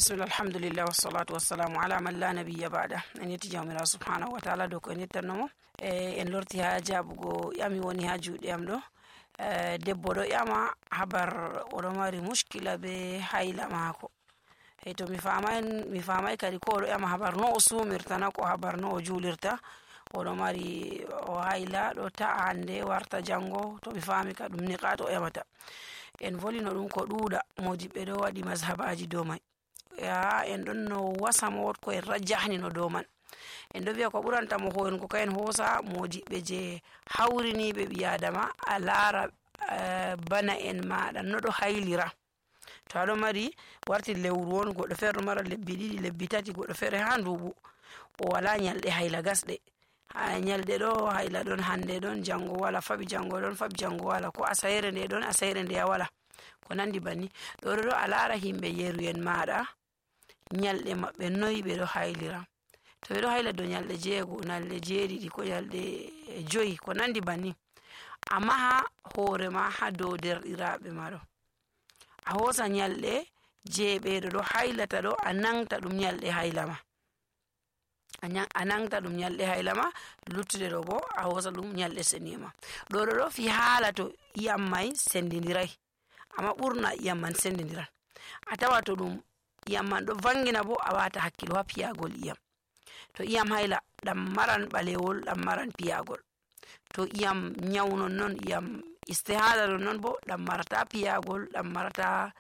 Bismillah, alhamdulillah, wassalatu wassalamu ala man la nabiyya ba'da. En yetti jawmirawo subhanahu wa ta'ala dow ko en yettannomo. En lorti ha jabugo ƴami woni ha juuɗe am ɗo. Debbo ɗo ƴama habar oɗo mari mushkila be hayla mako. To mi famai kadi ko oɗo ƴama habar no o sumirta na ko habar no o julirta. Oɗo mari hayla ɗo ta'a hande warta jango, to mi fami ka ɗum niqat o ƴamata. En volino ɗum ko ɗuuɗa, modiɓɓe ɗo waɗi mazhabaji dow mai. En ɗon no wasamo ko en rajjahni no dow man. En ɗo wiya ko ɓuranta mo hoyen ko kayen hosa modiɓɓe je hawriniɓe ɓi adama a laara bana en maɗa no ɗo haylira. To aɗo mari warti lewru on, goɗɗo feere ɗo mara lebbi ɗiɗi, lebbi tati, goɗɗo feere ha nduɓu o wala nyalɗe hayla gasɗe. Nyalɗe ɗo hayla ɗon hande ɗon jango wala, faɓi jango ɗon faɓi jango wala, ko asayre nde ɗon asayre nde wala, ko nandi banni. ɗo a laara himɓe yeruyen maɗa nyalɗe maɓɓe noyi ɓe ɗo haylira. To ɓe ɗo hayla dow nyalɗe 6, nyalɗe 7 ko nyalɗe 5 ko nandi banni. Amma ha hoore ma ha dow derɗiraɓe ma ɗo a hosa nyalɗe je ɓeɗo ɗo haylata ɗo a nangta ɗum nyalɗe hayla ma, a nangta ɗum nyalɗe hayla ma, luttuɗe ɗo bo a hosa ɗum nyalɗe seniye ma. ɗo fi haala to iyam mai sendidirai, amma ɓurna iyam man sendidiran. A tawa to ɗum iyam man ɗo vangina bo a wata hakkilo ha piyagol iyam. To iyam hayla ɗam maran ɓalewol, ɗam maran piyagol. To iyam nyaunon non, iyam istihada non bo ɗam marata piyagol, ɗam marata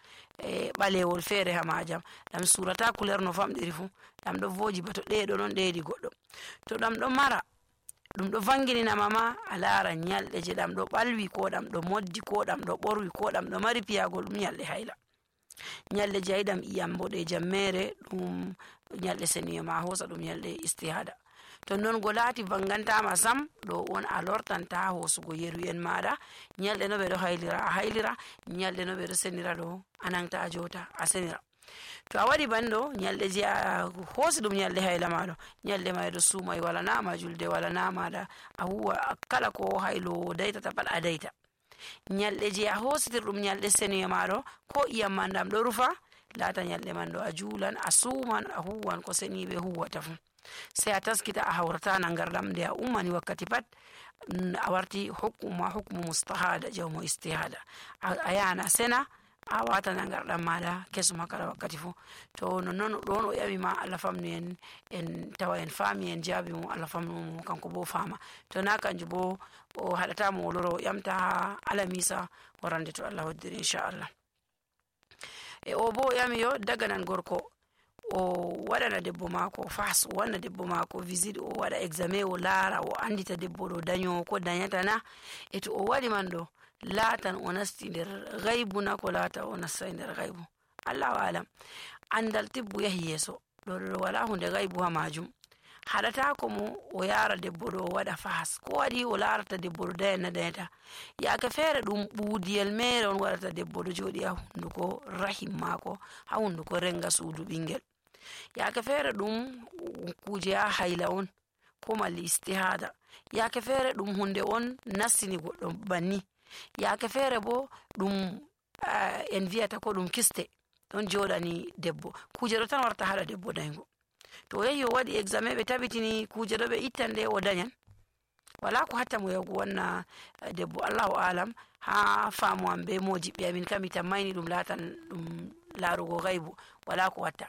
ɓalewol feere ha majam, ɗam surata couleur no famɗiri fu, ɗam ɗo voji ba to ɗeɗo non ɗeɗi goɗɗo. To ɗam ɗo mara ɗum ɗo vanginina ma a lara nyalɗe je ɗam ɗo ɓalwi, ko ɗam ɗo moddi, ko ɗam ɗo ɓorwi, ko ɗam ɗo mari piyagol, ɗum nyalɗe hayla. Nyalɗe je yiɗam iyam boɗejam mere ɗum nyalɗe seniye ma hosa ɗum nyalɗe istihada. To non go laati vangantama sam, ɗo on a lortanta hosugo yeruyen maɗa. Nyalɗe no ɓe ɗo haylira a haylira, nyalɗe no ɓe ɗo senira ɗo a nangta a jota a senira. To a waɗi banɗo nyalɗe je a hosi ɗum nyalɗe hayla maɗo, nyalɗe ma ɗo sumai wala nama julde, wala namaɗa a huwa kala ko haylo daytata pat a dayta. Nyalɗe je a hositir ɗum nyalɗe seniye maɗo, ko iyam man ɗam ɗo rufa, laata nyalɗe man ɗo a juulan, a suman, a huwan ko seniɓe huwata fu. Sai a taskita a hawrata nangarɗam nde a ummani wakkati pat a warti hukmu mustahada jawmo istihada. A yana sena a wata nangarɗam maɗa kesum kala wakkati fu. To non ɗon o ƴami ma Allah famnu en tawa en fami en jaabi mo, Allah famnu mo kanko bo fama. To na kanjum bo o haɗata mo o loro o ƴamta ha alamisa warande to Allah hoddiri inchallah. O bo ƴami yo daganan gorko o waɗana debbo mako fas, o wanna debbo mako visite, o waɗa examen, o laara, o andita debbo ɗo dañowo ko dañatana. To o waɗi man ɗo laatan o nasti nder gaybu na ko laata o nastai nder gaybu, Allahu alam. Andal tibbu yahi yeso, ɗo wala hunde gaybu ha majum. Haɗata ko mo o yara debbo ɗo o waɗa fas, ko waɗi o larata debbo ɗo dañata. Yaake feere ɗum ɓuudiyel mere on waɗata debbo ɗo joɗi ha hunduko rahim mako, ha hunduko renga suudu ɓingel. Yaake feere ɗum kuje ha hayla on, ko malli istihada. Yaake feere ɗum hunde on nastini goɗɗo banni. Yaake feere bo ɗum en viyata ko ɗum kiste ɗon joɗani debbo. Kuje ɗo tan warta haɗa debbo dañgo. To o yahi o waɗi examen ɓe tabitini kuje ɗo ɓe ittan nde o dañan, wala ko hatta mo yahugo wanna debbo, Allahu alam. Ha faamu am be mojiɓɓe amin kam mi tammayni ɗum laatan ɗum larugo gaybu, wala ko watta.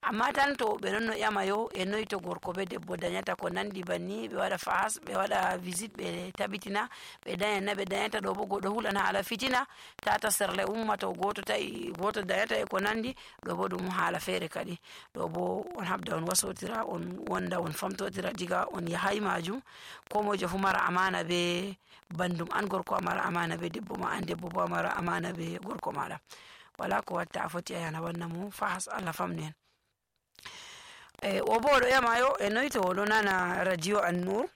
Amma tan to ɓe non no ƴama yo e noyi to gorko be debbo dañata ko nandi banni, ɓe waɗa fas, ɓe waɗa visite, ɓe tabitina ɓe dañan na ɓe dañata. Ɗo bo goɗɗo hulan hala fitina tata serle umma, to goto ta'i goto dañata e ko nandi. Ɗo bo ɗum haala feere kadi. Ɗo bo on habda on wasotira, on wonda on famtotira diga on yahay majum. Ko mojo fu mara amana be bandum, an gorko a mara amana be debbo ma, an debbo bo a mara amana be gorko maɗa. Wala ko watta a foti a yana wanna mo fahas, Allah famnu en. O bo oɗo ƴama yo e noyi to oɗo nana radio An-Nur,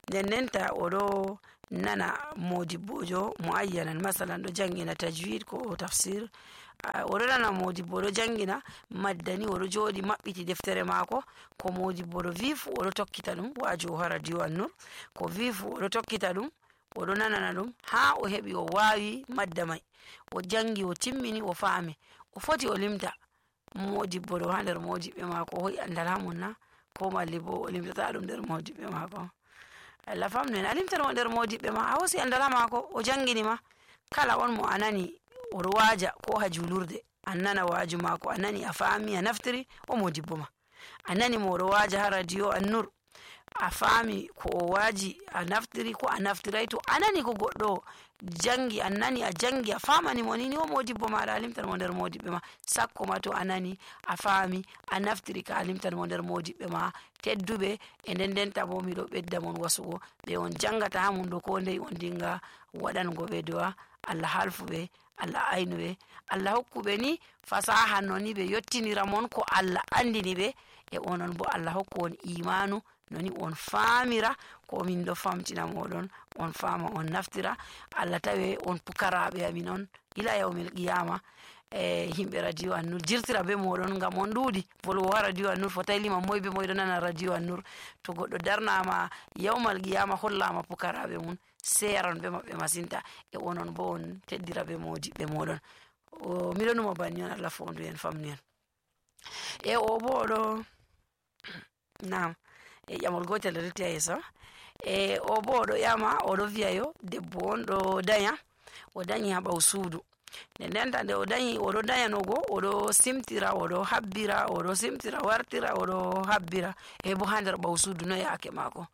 ndenta oɗo nana modibbojo muayyanan, masalan ɗo jangina tajwid ko tafsir, oɗo nana modibbo ɗo jangina maddani, oɗo joɗi maɓɓiti deftere mako, ko modibbo ɗo wi fu oɗo tokkita ɗum wajo ha radio An-Nur, ko wi fu oɗo tokkita ɗum, oɗo nanana ɗum ha o heɓi o wawi madda mai, o jangi o timmini o faami, o foti o limta modibbo ɗo ha nder modibɓe maako o hoyi andal ha mum na, ko malli bo o limtata ɗum nder modibɓe maako. Allah famnu en, a limtata mo nder modibɓe ma, a hosi andal ha maako, o jangini ma. Kala on mo a nani oɗo waaja ko ha julurde, an nana waaju maako, a nani a faami a naftiri, o modibbo ma. A nani mo oɗo waaja ha radio An-Nur, a faami ko o waaji a naftiri ko a naftiray, to a nani ko goɗɗo jangi, an nani a jangi a famani mo ni o modibbo maɗa, a limtan mo nder modibɓe ma. Sakko ma to a nani a faami a naftiri ka, a limtan mo nder modibɓe ma tedduɓe. E nden denta bo miɗo ɓedda mon wasugo ɓe on jangata ha mum ɗo, ko ndey on dinga waɗango ɓe du'a Allah halfuɓe, Allah aynuɓe, Allah hokkuɓe ni fasaha no ni ɓe yottinira mon ko Allah andini ɓe, e onon bo Allah hokku on imanu noni on faamira ko min ɗo famtina moɗon, on faama on naftira. Allah tawe on pukaraɓe amin on ila yawmil qiyama. Himɓe radio An-Nur jirtira be moɗon ngam on ɗuuɗi volwo ha radio An-Nur, fotai lima moy be moy ɗo nana radio An-Nur. To goɗɗo darnama yawmal qiyama hollama pukaraɓe mum, seran be maɓɓe masinta, e onon bo on teddira be modiɓɓe moɗon. Miɗo numa banni on, Allah fondu en famnu en. E o bo oɗo nam e ƴamol gotel retti ha yeeso. O bo oɗo ƴama oɗo wiya yo debbo on ɗo danya, o danyi ha ɓaw suudu. Nden denta nde o danyi oɗo danyanogo, oɗo simtira, oɗo habbira, oɗo simtira wartira, oɗo habbira, e bo ha nder ɓaw suudu no yaake maako.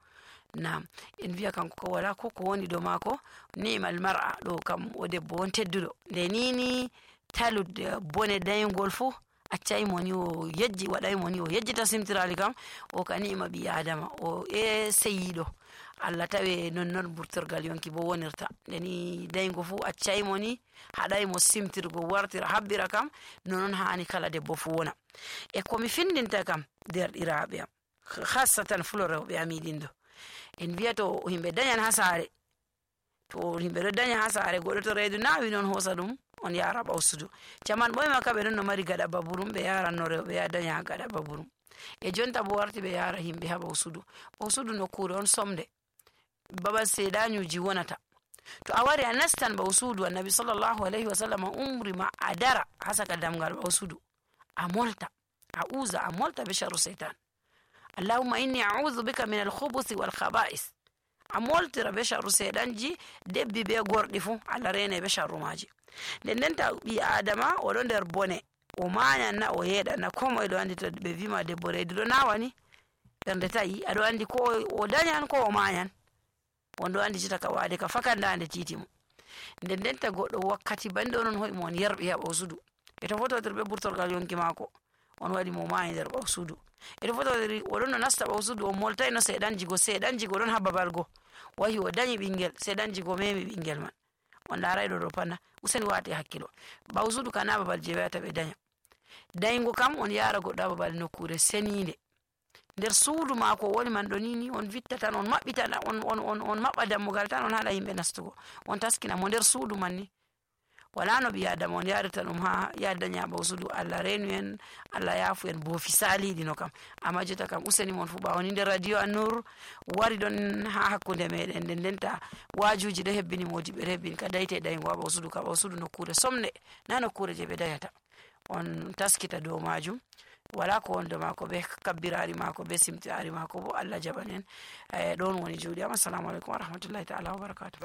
Nam en wiya kanko ko wala ko ko woni do maako, ni'mal mar'a, ɗo kam o debbo on tedduɗo. Nde nini talude bone dayngol fu accay mo ni o yejji, waɗay mo ni o yejjita simtirali kam, o ka ni'ima ɓi adama, o seyiɗo. Allah tawe non burtorgal yonki bo wonirta. Ndeni dayngo fu accay mo ni, haɗay mo simtirgo wartira habbira kam, nonon hani kala debbo fu wona. E komi findinta kam derɗiraɓe am, hassatan fulo rewɓe amiɗin ɗo, en wiya to himɓe dañan ha saare, to himɓe ɗo daña ha saare, goɗɗo to reedu nawi non hosa ɗum on yara ɓaw suudu. Caman ɓoyma ka ɓe ɗon no mari gaɗa baburum, ɓe yaranno rewɓe ya daña ha gaɗa baburum. E jonta bo warti ɓe yara himɓe ha ɓaw suudu. Ɓaw suudu nokkure on somde, babal seeɗañuji wonata. To a wari a nastan ɓaw suudu, Annabi sallallahu alayhi wa sallam umri ma a dara ha saka damgal ɓaw suudu, a molta, a uza, a molta be sharru seytan. Allahumma inni a'udhu bika min al-khubuthi wal khaba'is. A moltira be sharru seeɗanji, debbi be gorɗi fu Allah rene be sharru maji. Nden denta ɓi adama oɗo nder bone, o mayan na o yeɗan na, ko moye ɗo andi to ɓe wima debbo reedu ɗo nawani ɓernde tayi, aɗo andi ko o dañan ko o mayan, on ɗo andi jita ka wade ka fakandande titi mo. Nden denta goɗɗo wakkati bande onon hoy mo on yarɓi ha ɓaw suudu, e to fototir be burtorgal yonki maako on waɗi mo mayi nder ɓaw suudu, e to fototir oɗon no nasta ɓaw suudu, o moltay no seeɗanjigo ɗon ha babal go, wahi o dañi ɓingel, seeɗanjigo memi ɓingel man, on laray ɗo panna, useni wate hakkilo. Ɓaw suudu ka na babal je wiyata ɓe daña. Dayngo kam on yara goɗɗo ha babal nokkure senide, nder suudu maako woni man ɗo nini, on vitta tan, on maɓɓita on maɓɓa dammugal tan, on haɗa yimɓe nastugo, on taskina mo nder suudu man ni. Wala no ɓi adama on yarita ɗum ha yadaña ɓaw suudu. Allah renu en, Allah yafu en boofi saliɗi no kam. Amma jota kam useni mon fu ɓawoni nder radio An-Nur wari ɗon ha hakkunde meɗen, nden denta wajuji ɗo hebbini modiɓɓe ɗo hebbini ka dayte daygo ha ɓaw suudu, ka ɓaw suudu nokkure somne, na nokkure je ɓe dayata. On taskita dow majum, wala ko wonde maako be kabbirari maako be simtirari maako bo Allah jaɓan en. Ɗon woni juuɗe am. Assalamu aleykum wa rahmatullahi ta'ala wa barakatuh.